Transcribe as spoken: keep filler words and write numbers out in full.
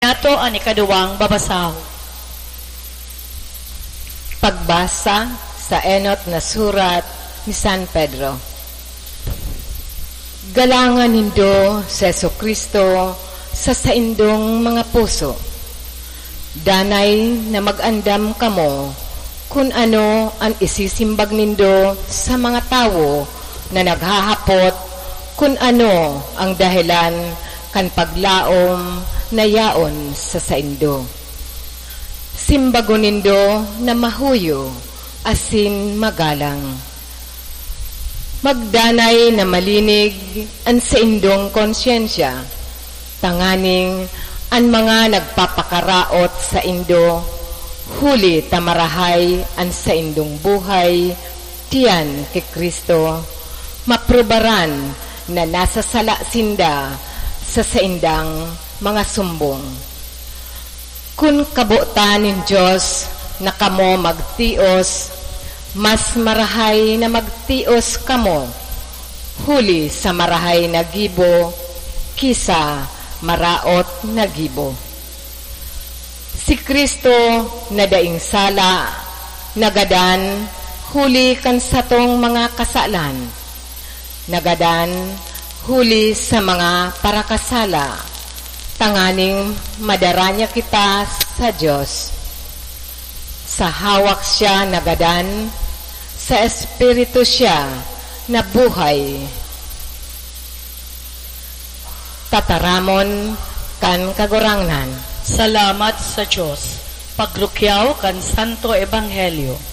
Nato an ikaduwang babasahon. Pagbasa sa enot na surat ni San Pedro. Galangan nindo si Jesu-Cristo sa saindong mga puso. Danay na mag-andam kamo kun ano an isisimbag nindo sa mga tawo na naghahapot kun ano ang dahelan kan paglaom na yaon sa saindo. Simbagon nindo na mahuyo asin magalang. Magdanay na malinig an saindong konsyensya, tanganing an mga nagpapakaraot saindo, huli ta marahay an saindong buhay diyan ki Cristo, maprobaran na nasasala sinda sa saindang mga sumbong. Kun kabotan nin Dios na kamo magtios, mas marahay na magtios kamo huli sa marahay na gibo ki sa maraot na gibo. Si Cristo na daing sala nagadan huli kan satong mga kasalan, nagadan huli sa mga parakasala, tanganing madara niya kita sa Dios. Sa hawak siya nagadan, sa Espiritu siya na buhay. Tataramon kan Kagurangnan. Salamat sa Dios. Pagrukyaw kan Santo Ebanghelyo.